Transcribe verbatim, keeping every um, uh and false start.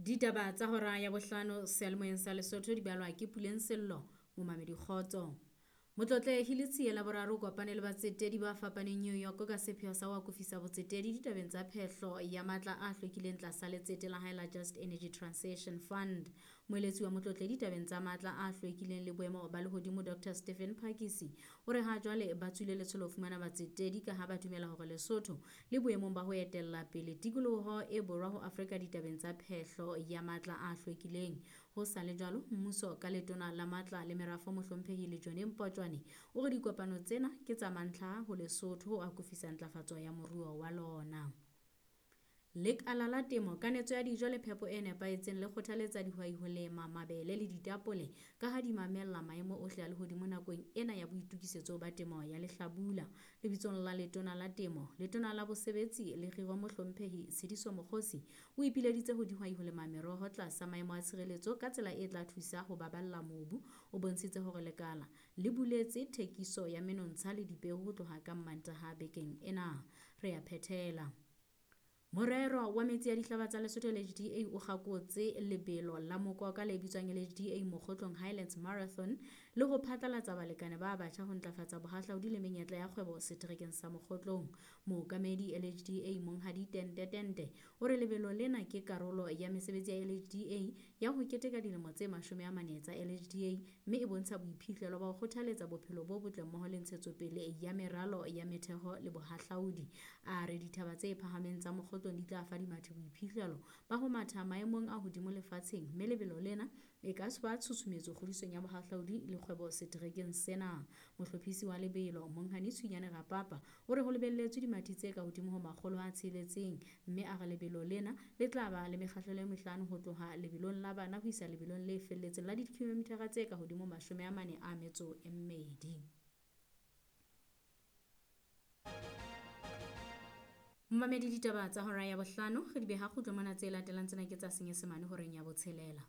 Ditaba tsa hora ya bohlano seyalemoyeng sa Lesotho di balwa ke Puleng Sello, momamedi kgotso. Motlotlehi Letsie la boraro o kopane le batsetedi ba fapaneng New York ka sepheo sa ho akofisa botsetedi ditabeng tsa phehlo ya matla a hlwekileng tlasa letsete la hae la Just Energy Transition Fund. Moeletsi wa motlotlehi ditabeng tsa matla a hlwekileng le boemo ba lehodimo Doctor Stephen Phakisi o re ha jwale ba tswile letsholo ho fumana batsetedi ka ha ba dumela hore Lesotho le boemong ba ho etella pele tikoloho e borwa ho Afrika ditabeng tsa phehlo ya matla a hlwekileng. Ho sa le jwalo, mmuso ka letona la matla le merafo mohlomphehi Lejone Mpotjwane o re dikopano tsena ke tsa mantlha ho Lesotho ho akofisa ntlafatso ya moruo wa lona. Lekala la temo, kanetso ya dijo le phepo e nepahetseng le kgothaletsa dihwai ho lema mabele le ditapole ka ha di mamella maemo ohle a lehodimo nakong ena ya boitokisetso ba temo ya lehlabula. Lebitsong la letona la temo, letona la bosebetsi le kgiro mohlomphehi Tshediso Mokgosi o ipileditse ho dihwai ho lema meroho tlasa maemo a tshireletso ka tsela e tla thusa ho baballa mobu. O bontshitse hore lekala le buletse thekiso ya menontsha le dipeo ho tloha ka Mmantaha bekeng ena. Re a phethela. Morero wa metsi a dihlaba tsa Lesotho L H D A o kgakotse lebelo la mokoka le bitswang L H D A Mokgotlong Highlands Marathon le ho phatlalatsa balekane ba batjha ho ntlafatsa bohahlaudi le menyetla ya kgwebo seterekeng sa Mokgotlong. Mookamedi L H D A Monghadi Tente Tente o re lebelo lena ke karolo ya mesebetsi ya L H D A ya ho keteka dilemo tse mashome a mane tsa L H D A mme e bontsha boiphihlelo ba ho kgothaletsa bophelo bo botle mmoho le ntshetsopele ya meralo ya metheho le bohahlaudi. A re dithaba tse phahameng tsa Mokgotlong di tla fa dimathi boiphihlelo ba ho matha maemong a hodimo lefatsheng mme lebelo lena e ka ba tshusumetso kgodisong ya bohahlaudi le kgwebo seterekeng sena. Mohlophisi wa lebelo Monghadi Tshunyane Rapapa o re ho lebelletswe dimathi tse ka hodimo ho makgolo a tsheletseng mme a re lebelo lena le tla ba le mekgahlelo e mehlano ho tloha lebelong la bana ho isa lebelong le felletseng la dikilomitara tse ka hodimo mashome a mane a metso e mmedi. Mmamedi ditaba tsa hora ya bohlano re di beha kgutlo mona tse latelang tsena ke tsa Senyesemane horeng ya botshelela.